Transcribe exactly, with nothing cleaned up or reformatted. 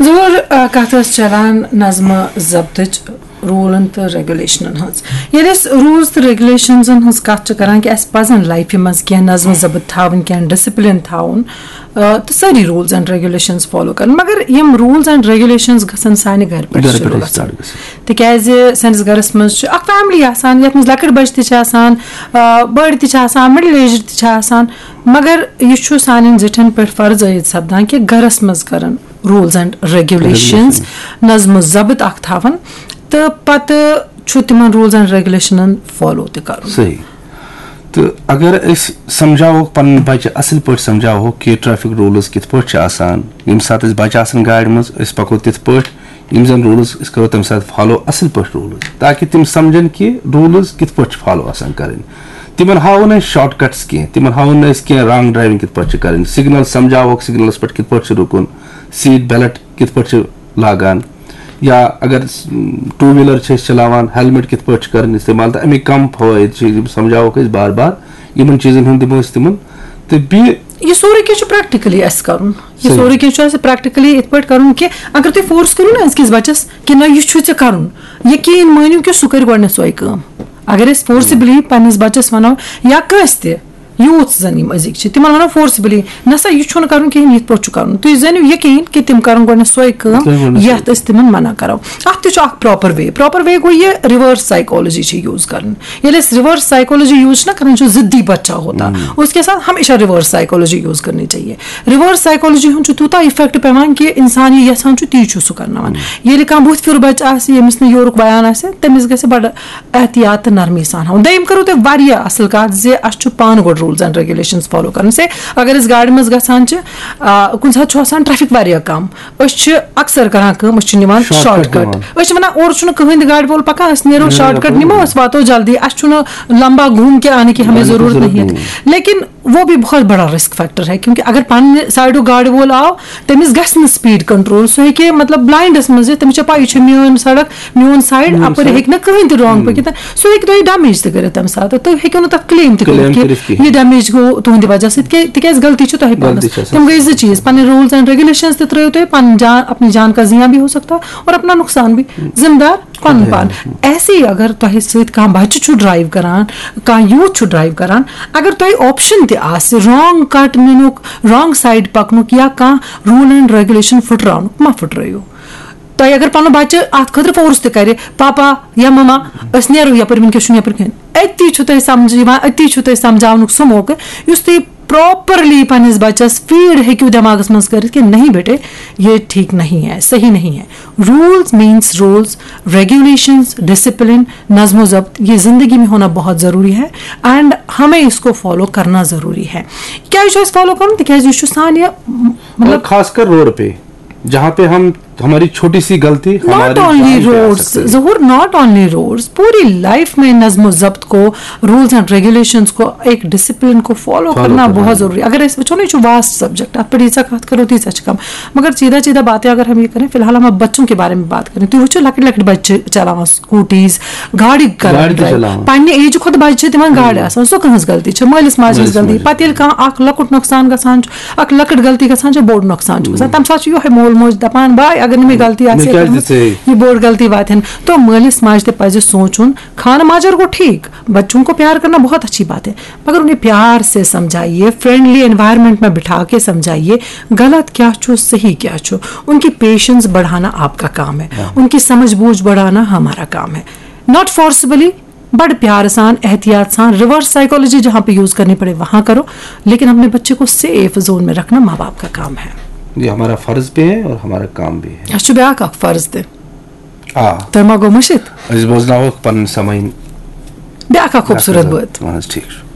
ظہور، آ، کتھ ٲس چلان نظمہٕ ضبطٕچ، روٗلن تہٕ ریگولیشنن ہٕنٛز۔ ییٚلہِ أسۍ روٗلز تہٕ ریگولیشنزن ہٕنٛز کتھ چھِ کران کہِ اَسہِ پزن لایفہِ منٛز کینٛہہ نظمہٕ ضبط تھاوٕنۍ، کینٛہہ ڈسپلن تھاوُن، آ، تہٕ سٲری روٗلز اینڈ ریگولیشنز فالو کرٕنۍ، مگر یِم روٗلز اینڈ ریگولیشنز گژھن سانہِ گرِ پٮ۪ٹھ گرٕ شروٗع پٮ۪ٹھٕے گژھٕنۍ۔ سٹارٹ گژھٕنۍ۔ تِکیازِ سٲنِس گرس منٛز چھِ اکھ فیملی آسان، یتھ منٛز لۄکٕٹۍ بچہِ تہِ چھِ آسان، آ، بٔڑۍ تہِ چھِ آسان، مڈل ایجڈ تہِ چھِ آسان، مگر یہِ چھُ سانٮ۪ن زِٹھٮ۪ن پٮ۪ٹھ فرض عٲید سپدان کہِ گرس منٛز کرن روٗلز اینڈ ریگولیشنز، نظم و ضبط اکھ تھاوُن، تہٕ پتہٕ چھُ تِمن روٗلز اینڈ ریگولیشنن فالو تہِ کرُن۔ صحیح۔ تہٕ اگر أسۍ سمجھاوہوکھ پنٕنۍ بچہِ، اصل پٲٹھۍ سمجھاوہوکھ کہِ ٹریفک روٗلز کِتھ پٲٹھۍ چھِ آسان، ییٚمہِ ساتہٕ أسۍ بچہِ آسن گاڑِ منٛز، أسۍ پکو تِتھ پٲٹھۍ، یِم زن روٗلز أسۍ کرو تمہِ ساتہٕ فالو اصل پٲٹھۍ روٗلز، تاکہِ تِم سمجھن کہِ روٗلز کِتھ پٲٹھۍ چھِ فالو آسان کرٕنۍ۔ تِمن ہاوو نہٕ أسۍ شارٹ کٹس کینٛہہ، تِمن ہاوو نہٕ أسۍ کینٛہہ رانگ ڈرایونگ کِتھ پٲٹھۍ چھِ کرٕنۍ، سگنل سمجھاوہوکھ سگنلس پٮ۪ٹھ کِتھ پٲٹھۍ چھُ رُکُن، سیٹ بیلٹ کِتھ پٲٹھۍ چھِ لاگان، یا اگر ٹوٗ ویٖلر چھِ أسۍ چلاوان، ہیلمٹ کِتھ پٲٹھۍ چھِ کرٕنۍ استعمال، تہٕ اَمِکۍ کم فوٲیِد چھِ، یِم سمجھاوہوکھ أسۍ بار بار۔ یِمن چیٖزن ہُنٛد دِمو أسۍ تِمن۔ تہٕ بیٚیہِ یہِ سورُے کینٛہہ چھُ پریکٹیکلی اَسہِ کرُن۔ یہِ صحیح۔ سورُے کینٛہہ چھُ اَسہِ پریکٹیکلی یِتھ پٲٹھۍ کرُن کہِ اگر تُہۍ فورس کٔرِو نا أزکِس بچس کہِ نہ، یہِ چھُے ژےٚ کرُن، یقیٖن مٲنِو کہِ سُہ کرِ گۄڈٕنیتھ سۄے کٲم۔ اگر أسۍ فورسِبلی پننِس بچس ونو یا کٲنٛسہِ تہِ، یوٗتھ زن یِم أزِکۍ چھِ، تِمن ونو فورسِبلی، نہ سا، یہِ چھُنہٕ کرُن کِہینۍ، یِتھ پٲٹھۍ چھُ کرُن۔ تُہۍ زٲنِو یقیٖن کہِ تِم کرن گۄڈٕنیتھ سۄے کٲم، تِم گۄڈٕنیتھ سۄے یتھ أسۍ تِمن منع کرو۔ اتھ تہِ چھُ اکھ پراپر وے۔ پراپر وے گوٚو یہِ ریورس سائیکالوجی چھِ یوٗز کرٕنۍ۔ ییٚلہِ أسۍ ریورس سائیکالوجی یوٗز چھِنہ کران، چھُ ضدی بچہ ہوتا، اس کے ساتھ ہمیشہ ریورس سائیکالوجی یوٗز کرنی چاہیے۔ ریورس سائیکالوجی ہُنٛد چھُ تیوٗتاہ افیکٹ پٮ۪وان کہِ انسان یہِ یژھان چھُ، تی چھُ سُہ کرناوان۔ ییٚلہِ کانٛہہ بُتھ پھیُر بچہِ آسہِ، ییٚمِس نہٕ یورُک بیان آسہِ، تٔمِس گژھِ بڑٕ احتیاط تہٕ نرمی سان ہاوُن۔ دوٚیِم کٔرٕو تۄہہِ واریاہ اصل کتھ زِ اسہِ چھُ پانہٕ گۄڈٕ روٗلز اینڈ ریگولیشنز فالو کرٕنۍ۔ سے اگر أسۍ گاڑِ منٛز گژھان چھِ، آ، کُنہِ ساتہٕ چھُ آسان ٹریفک واریاہ کم، أسۍ چھِ اکثر کران کٲم، أسۍ چھِ نِوان شارٹ کٹ۔ أسۍ چھِ ونان، اورٕ چھُنہٕ کٕہٕنۍ تہِ گاڑِ وول پکان، أسۍ نیرو شارٹ کٹ، نِمو، أسۍ واتو جلدی، اسہِ چھُنہٕ لمبا گھوم کے آنے کی ہمیں ضرورت نہیں ہے۔ لیکن وہ بھی بہت بڑا رسک فیکٹر ہے، کیونکہ اگر پننہِ سایڈُک گاڑِ وول آو، تٔمِس گژھِ نہٕ سپیڈ کنٹرول، سُہ ہیٚکہِ مطلب بلائنڈس منٛز یِتھ، تٔمِس چھےٚ پَیی، یہِ چھےٚ میٲنۍ سڑک، میون سایڈ، اپٲرۍ ہیٚکہِ نہٕ کٕہٕنۍ تہِ رانگ پٔکِتھ۔ سُہ ہیٚکہِ تۄہہِ ڈیمیج تہِ کٔرِتھ تمہِ ساتہٕ، تُہۍ ہیٚکِو نہٕ تتھ کلیم تہِ کٔرِتھ کہِ یہِ ڈیمیج گوٚو تُہنٛدِ وجہ سۭتۍ، کیٛازِ، تِکیٛازِ غلطی چھِ تۄہہِ پانس۔ تِم گٔے زٕ چیٖز، پنٕنۍ روٗلز اینڈ ریگولیشنز تہِ ترٲیِو تُہۍ، پنٕنۍ جان، اپنی جان کا زیاں بھی ہو سکتا ہے اور اپنا نقصان بھی، ذمہ دار پنُن پان۔ ایسے ہی اگر تۄہہِ سۭتۍ کانٛہہ بچہِ چھُ ڈرایو کران، کانٛہہ یوٗتھ چھُ ڈرایو کران، اگر تۄہہِ آپشن تہِ آسہِ رانگ کٹ نِنُک، رانگ سایڈ پکنُک یا کانٛہہ روٗل اینڈ ریگولیشن پھٕٹراونُک، مہ پھٕٹرٲیِو۔ تۄہہِ اگر پنُن بچہِ اتھ خٲطرٕ فورس تہِ کرِ، پاپا یا مما، أسۍ نیرو یپٲرۍ، وٕنکیٚس چھُنہٕ یپٲرۍ کِہیٖنۍ، أتی چھُ تۄہہِ سمجھ یِوان، أتی چھُ تۄہہِ سمجھاونُک سُہ موقعہٕ یُس تُہۍ پراپرلی پننِس بچس فیٖڈ ہیٚکِو دٮ۪ماغس منٛز کٔرِتھ کہِ نہیں بیٹے، یہ ٹھیک نہیں ہے، صحیح نہیں ہے۔ Rules means rules, regulations, discipline, نظم و ضبط، یہ زندگی میں ہونا بہت ضروری ہے، اینڈ ہمیں اس کو فالو کرنا ضروری ہے۔ کیٛازِ چھُ اَسہِ فالو کرُن؟ تِکیٛازِ یہِ چھُ سانہِ، مطلب، اور خاص کر روڈ پہ، جہاں پہ ہم، ہماری چھوٹی سی غلطی ہمارے ناٹ اونلی جان پہ آ روڈز، سکتی ہے۔ ظہور، not only roads, Puri life میں نظم و ضبط کو، روٗلز اینڈ ریگولیشنز کو، ایک ڈسپلن کو فالو فالو کرنا کرنا بہت ہے۔ ضروری۔ اگر أسۍ وٕچھو نا، یہِ چھُ واسٹ سبجیکٹ، اتھ پٮ۪ٹھ ییٖژاہ کتھ کرو، تیٖژاہ چھِ کم۔ مگر سیدھا سیدھا باتیں اگر ہم یہ کریں، فی الحال ہم اب بچوں کے بارے میں بات کریں، تُہۍ وٕچھِو لۄکٕٹۍ لۄکٕٹۍ بچہِ چھِ چلاوان سکوٹیز، گاڑِ کران گاڑِ تہِ ڈرایو۔ چلاوان۔ پننہِ ایجہِ کھۄتہٕ بجہِ چھِ تِمن گاڑِ آسان، سۄ کٕہٕنٛز غلطی چھِ؟ مٲلِس ماجہِ ہٕنٛز مٲلِس غلطی۔ ماجہِ۔ پتہٕ ییٚلہِ کانٛہہ اکھ لۄکُٹ نۄقصان گژھان چھُ، اکھ لۄکٕٹ غلطی گژھان چھِ، بوٚڑ نۄقصان چھُ گژھان۔ تمہِ ساتہٕ چھُ یِہوٚے مول موج دپان، "واے، اگر نہٕ مےٚ غلطی آسہِ ہے کٔرمٕژ، یہِ بوٚڑ غلطی واتہِ ہن۔" تو مٲلِس ماجہِ تہِ پزِ سونٛچُن، خانہٕ ماجر گوٚو ٹھیٖک، بچوں کو پیار کرنا بہت اچھی بات ہے، مگر انہیں پیار سے سمجھائیے، فرینڈلی انوائرمنٹ میں بٹھا کے سمجھائیے، غلط کیا چھُ، صحیح کیا چھُ۔ ان کی پیشنس بڑھانا آپ کا کام ہے، ان کی سمجھ بوجھ بڑھانا ہمارا کام ہے۔ ناٹ فورسبلی، بڑ پیار سان، احتیاط سان، ریورس سائیکالوجی جہاں پہ یوز کرنی پڑے وہاں کرو، لیکن اپنے بچے کو سیف زون میں رکھنا ماں باپ کا کام ہے۔ یہ ہمارا فرض بھی ہے اور ہمارا کام بھی ہے۔ اَسہِ چھُ بیٛاکھ اکھ فرض تہِ۔ آ۔ تۄہہِ ما گوٚو مٔشِتھ؟ أسۍ بوزناوہوکھ پنٕنۍ سمعیٖن۔ بیٛاکھ اکھ خوٗبصوٗرت بٲتھ۔ اہن حظ، ٹھیٖک چھُ۔